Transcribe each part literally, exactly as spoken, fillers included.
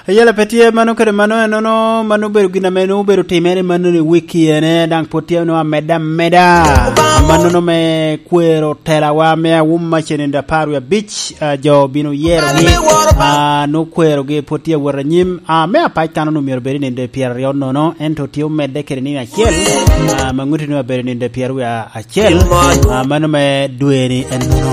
Eyela pe tye mano kede mano, enono mano obedo gin ame nwoŋo obedo timere mano ni wiki ene, daŋ pwod tye nwoŋo amedde ameda. Amannono me kwero telawa ame awum mac i nino apar wie abic, ah, jo obino yerogi, ah, nwoŋo kwerogi pwod tye awot anyim. Ah, me apac kan onwoŋo myero obed i nino pyeraryo nono, ento tye omedde kede nino acel, ah, ma ŋuti nwoŋo abedo i nino pyeraryo wie acel, ah, mano me dwe ni enono.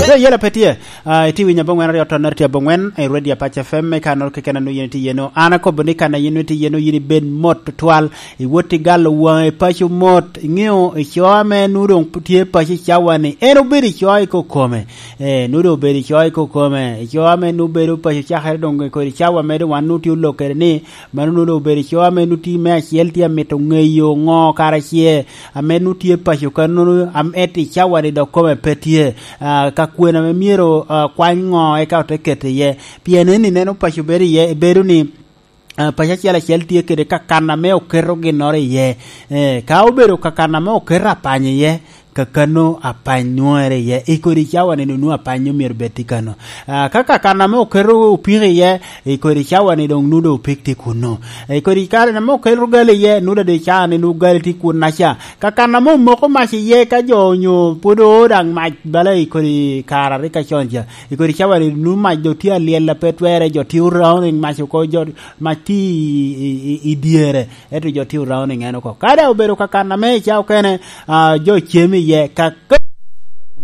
So, eyela pe tye. Ah, itye winyo abongwen aryo tonnere tye abongwen, i Radio Apac F M, i kannoro keken a nwoŋo yin itye iye-nu. An akobo ni kan a yin itye iye-nu, yin ibed mot tutwal, iwot i galo waŋi i paco mot, iŋeo i co ame nwoŋo doŋ tye paco i cawa-ni, en obedo i co i kokome. Eh, nwoŋo doŋ obedo i co i kokome, i co ame nwoŋo bedo paco cakere doŋ kodi cawa mere wan nwoŋo tye olok kede ni, mano nwoŋo doŋ obedo i co ame nwoŋo tye me acel tye amito ŋeyo ŋo kara ce, ame nwoŋo tye paco kannono, am-, ento i cawa-ni dok kome pe tye. Ah, ka kwena ame myero, ah, kwany ŋo eka ote keto iye. Pien en ineno paco bedo iye, bedo ni, ah, paco acel acel tye kede kakan ame oketo ginnoro iye. Eh, ka obedo kakan ame oketo apany iye, kakano apany nwoŋere iye. I kodi cawa-ni doŋ nwoŋo apany omyero bed tye kano. Ah, ka kakan ame oketo opiko iye, i kodi cawa-ni doŋ nwoŋo doŋ opik tye kunno. I kodi kare ame oketo gali iye, nwoŋo doŋ i cawa-ni nwoŋo gali tye kunnaca. Kakan ame omoko mac iye ka jo onyo pwod oo daŋ mac bala i kodi kare a rik acon ca. I kodi cawa-ni nwoŋo mac doŋ tye alyel a pe twerre, jo tye orauning mac oko, jo mac tye i, i, i, i dyere, ento jo tye orauning en oko. Ka daŋ obedo kakan ame i ca okene, ah, jo cem iye, ka, ka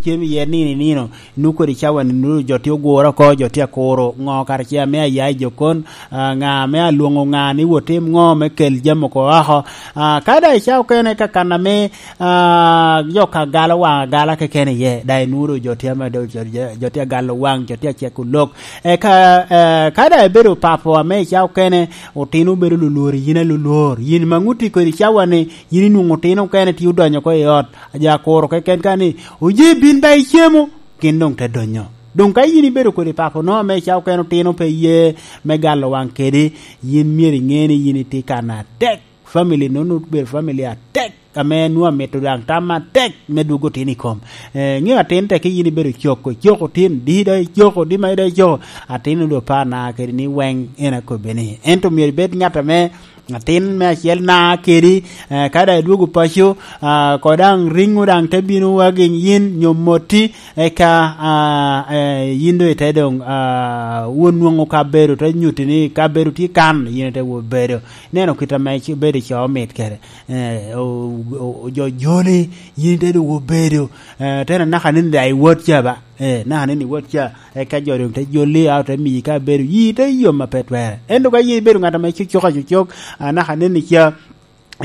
cem iye nino i nino, nwoŋo kodi cawa-ni nwoŋo jo tye oguro oko, jo tye akuro ŋo kara ce ame aya i jokon, ah, ŋa ame alwoŋo ŋa ni wot tim ŋo me kel jami oko oko. Ah, ka daŋ i ca okene kakan ame, ah, jo ka galo waŋ agala keken iye, daŋ inwoŋo jo tye ame do-, jo, jo, jo tye agalo waŋ, jo tye aceko lok. Eka, eh, ka daŋ ibedo papo ame i ca okene, otino obedo lulwor, yin alulwor. Yin ma ŋuti kodi cawa-ni, yin inwoŋo otino okene tye odonyo oko i ot, aja kuro keken ka ni, "Oye, bin ba icemo," gin doŋ te donyo. Doŋ ka yin ibedo kodi papo no ame i ca okene otino pe ye me galo waŋ kedi, yin myero iŋe ni yin itye kan atek. Family nono obedo family atek, ame nwoŋo amito daŋ tam atek me dwogo otino i kom. Eh, ŋeo atin tek yin ibedo coko, coko tin, di daŋ icoko, di ma daŋ icoko, atin onwoŋo doŋ par na kede ni weŋ en akobbe ni. Ento myero ibed ŋat ame atin me acel na kedi, eh, ka daŋ idwogo paco, ah, ko daŋ riŋo daŋ te bino wagi yin nyo moti, eka, ah, eh, yin doŋ ite doŋ, ah, won nwoŋo kabedo, te nyuti ni kabedo tye kan, yin ite wot bedo. Neno kit ame ci-, bedo i co mit kede. Eh, o-, o-, jo joli, yin ite doŋ obedo. Eh, te na naka ni daŋ iwot ca ba. Eh, naka ni iwot ca, eka jo doŋ te joli, a ote miyi kabedo, yi te yom a pe twerre. Ento ka yin ibedo ŋat ame cucuk acucuk, a naka ni ca,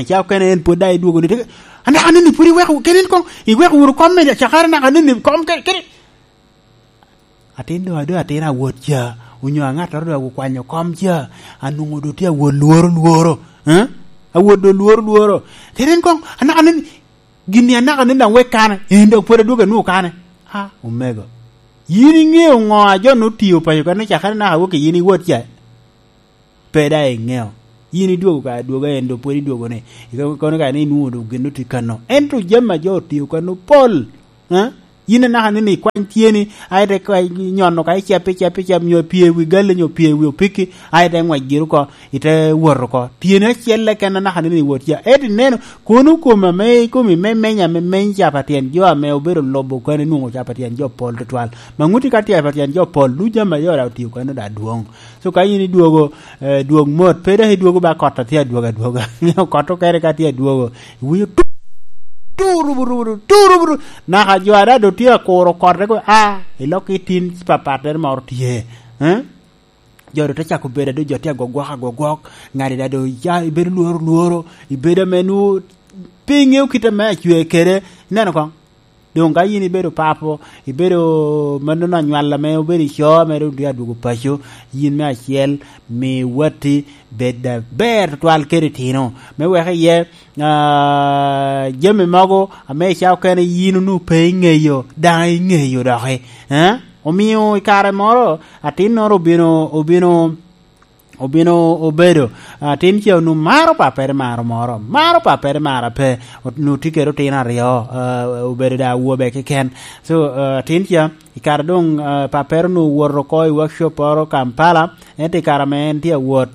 ca okene en pwod daŋ idwogo ni, te, a naka ni pwod iweko, kene en koŋ, iweko wunu kom me cakere naka ni kom ke-, kene. Atin doŋ, a doŋ atin awot ca, onyo aŋattoro doŋ okwanyo kom ca, anwoŋo doŋ tye awot lworo lworo, eh? Awot doŋ lworo lworo. Kede en koŋ, anaka ni, gin-ni anaka ni daŋ wek kane, en daŋ pwod adwogo anwoŋo kane. A, omego. Yin iŋeo ŋo a jo nwoŋo tio paco kan ocakere naka wok i yin iwot ca? Pe daŋ iŋeo. Yin idwogo ka adwoga, en doŋ pwod idwogo ni. Ikono ka ni inwoŋo doŋ gin otye kano. Ento jami a jo otio kano pol. Eh? Yin anaka ni ikwany tyeni, aye te kwa-, nyono ka icep, icep, icep, nyo pye wi gali, nyo pye wi opiki, aye te ngwec giri oko, ite wot oko. Tyeni acel keken anaka ni iwot ca. Ento ineno, kono kom ame, kom ame menya, ame meny ca pa tyen jo ame obedo lobo kano inwoŋo ca pa tyen jo pol tutwal. Ma ŋuti ka tye pa tyen jo pol, du jami a jo daŋ otio kano daŋ dwoŋ. So ka yin idwogo, eh, dwog mot, pe dok idwogo ba kot a tye adwogo adwoga. Kot okene ka tye adwogo, iwinyo tu, tu, rubu, rubu, tu, rubu, rubu. Naka jo a daŋ doŋ tye akuro kot, reko, a, ilok i tin papattere moro tye. Eh? Jo doŋ te cako bedo, a doŋ jo tye agwogwok, agwogwok. Ŋadi daŋ doŋ ya, ibedo lworo, lworo. Ibedo ame nwoŋo pe iŋeo kit ame acwe kede. Ineno koŋ? Doŋ ka yin ibedo papo, ibedo mannono anywal ame obedo i co, ame doŋ tye adwogo paco, yin me acel, mi watti bed aber tutwal kede itino. Me wek iye, ah, jami mogo ame i ca okene yin onwoŋo pe iŋeyo, daŋ iŋeyo doki. Eh? Omio i kare moro, atinnoro obino, obino, obino obedo, ah, atin ca onwoŋo maro pappere maro moro, maro pappere maro ape, ot-, onwoŋo tye kede otino aryo, ah, obedo dok awobe keken. So, ah, atin ca, i kare doŋ, ah, pappere onwoŋo owoto oko i workshop moro Kampala, ento i kare ame en tye awot,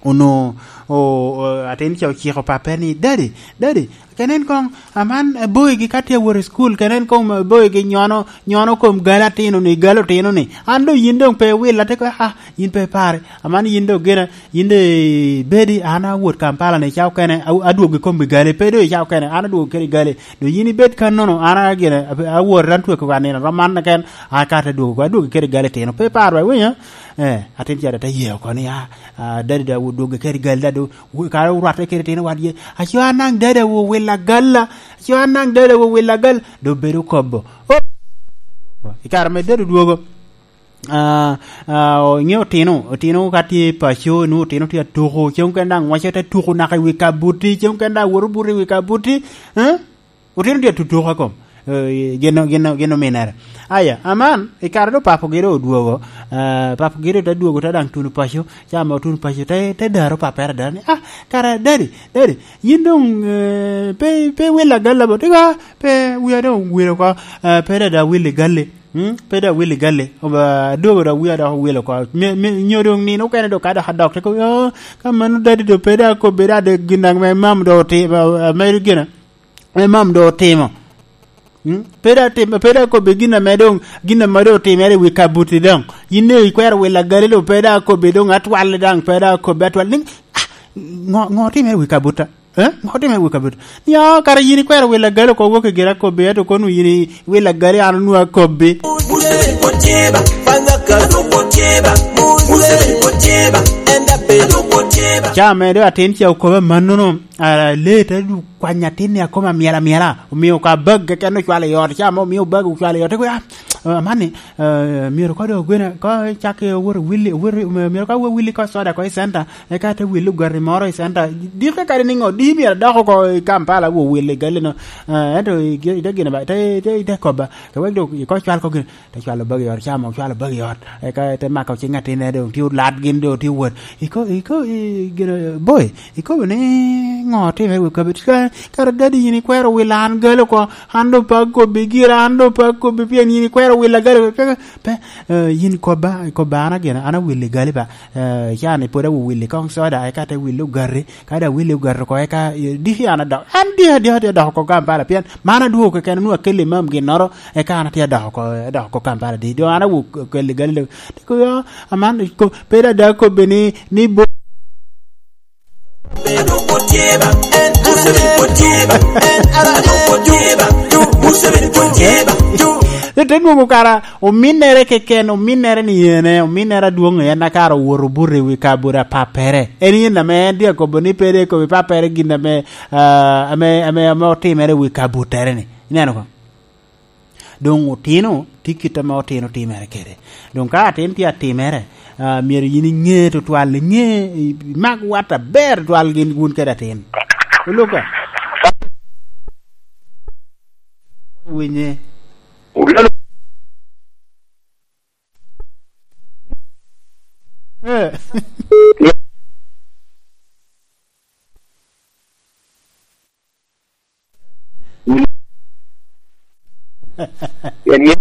onwoŋo, o-, o-, atin ca ociko pappere ni, "Daddy, daddy, kenen koŋ, aman, eh, boygi ka tye awot i cukul, kenen koŋ, eh, boygi nyono, nyono kom gal atino-ni, gal otino-ni. An doŋ yin doŋ pe iwilla," te kobo, "Ah, yin pe ipare. Aman yin doŋ gin, yin doŋ ibedi, an awot Kampala-ni i cawa okene, a-, adwogo i kom i gali, pe doŋ i cawa okene, an adwogo kede i gali. Doŋ yin ibed kannono, an a-, gin, a-, awot, an tweko ka nino, rom man keken, an ka te dwogo, adwogo kede i gali tino. Pe iparo, iwinyo?" Eh, atin ca te ye oko ni, "Ah, ah, daddy daŋ odwogo kede i gali, daddy, wu-, kara orwatte kede tino wadgi. Aco an daŋ daddy owilla gal-la. Aco an daŋ daddy owilla gal." Doŋ bedo kobo. Oh! I kare ame daddy odwogo, ah, ah, iŋeo otino, otino ka tye i paco, nwoŋo otino tye atuko, cen okene daŋ waco te tuko naka i wi kabuti, cen okene daŋ woto buto i wi kabuti, eh? Otino tye atutuko a kom, eh, gin, gin, gin ominere. Aya, aman, i kare doŋ papogi doŋ odwogo, eh, papogi doŋ te dwogo, te daŋ tuno paco, ca ame otuno paco, te, te daro pappere ada ni, "Ah, kara, daddy, daddy, yin doŋ, eh, pe, pe iwilla gal-la bo?" Tika, pe, wia doŋ owil oko, eh, pe dada awil i gal-li. Hmm? Pe dada awil i gal-li. Oba, adwogo dok wia dok owil oko. Me, me, nyo doŋ nino okene doŋ ka dok adok, te kobo, "Oh, ka mano daddy doŋ pe dada akobbi dada gin daŋ me mam doŋ oti-, ame gin, ame mam doŋ otimo." Hmm? Pe dada tim-, pe dada akobbi gin ame doŋ, gin ame doŋ otimere i wi kabuti doŋ. Yin doŋ ikwero willa gali doŋ pe dada akobbi doŋ atwal daŋ, pe dada akobbi atwal. Ni, ah, ŋo, ŋo otimere i wi kabutta? Eh? Ŋo otimere i wi kabutta? Ni, "Oh, kara yin ikwero willa gali oko wok i gira akobbi, ento kono yin i willa gali an onwoŋo akobbi." Ca ame doŋ atin ca okobo amannono, ah, lee te du-, kwanyo atin-ni akoma myel amyela, omio ka bag keken ocwalo i ot, ca mo omio bag ocwalo i ot, te kobo, "Ah, amanni, ah, myero ka doŋ ogwene, ka cak owoto wili, owoto, myero ka owoto wili ka soda ko i center, eka te wili ogati moro i center." Dike kadi ni ŋo, di myero adok oko i Kampala wo wili gali-no, ah, ento i, i te gine ba, te, te, te kobba, ka wek doŋ iko cwal ko gine. Te cwalo bag i ot, ca mo ocwalo bag i ot. Eka te mako cing atinne, doŋ tye olat gin, doŋ tye wot. Iko-, iko-, i-, gin, boy, ikobo ni ŋo otimere i wi kabedo? Ka-, kara daddy yin ikwero wilo an gal oko, an doŋ pe akobbi gira, an doŋ pe akobbi pien yin ikwero wila gal oko. Pe, pe, eh, yin kobba, kobba an agin, an awilli gali ba. Eh, ca ni pwod awilli koŋ soda, eka te willi ogati. Ka daŋ wili ogato oko, eka, eh, diki an adok. An diki, diki, diki adok oko Kampala, pien man adwogo keken, onwoŋo akelli mam ginnoro, eka an atye adok oko, adok oko Kampala di. Doŋ an awok akelli gali, te kobo, "Oh, aman, ko-, pe daŋ daŋ akobbi ni, ni bo-" Te nwoŋo kara ominnere keken, ominnere ni ene, ominnere adwoŋ en a kara owoto obuto i wi kabuto a pappere. En yen ame en tye akobo ni pe dok ekobo i pappere gin ame, ah, ame, ame, ame otimere i wi kabuttere-ni. Ineno ko? Doŋ otino tye kit ame otino timere kede. Doŋ ka atin tye atimere, ah, myero yin iŋe tutwal, iŋe, i-, imak wat aber tutwal gin wun kede atin. Oluka. Winye. Eh. Pien ŋe-,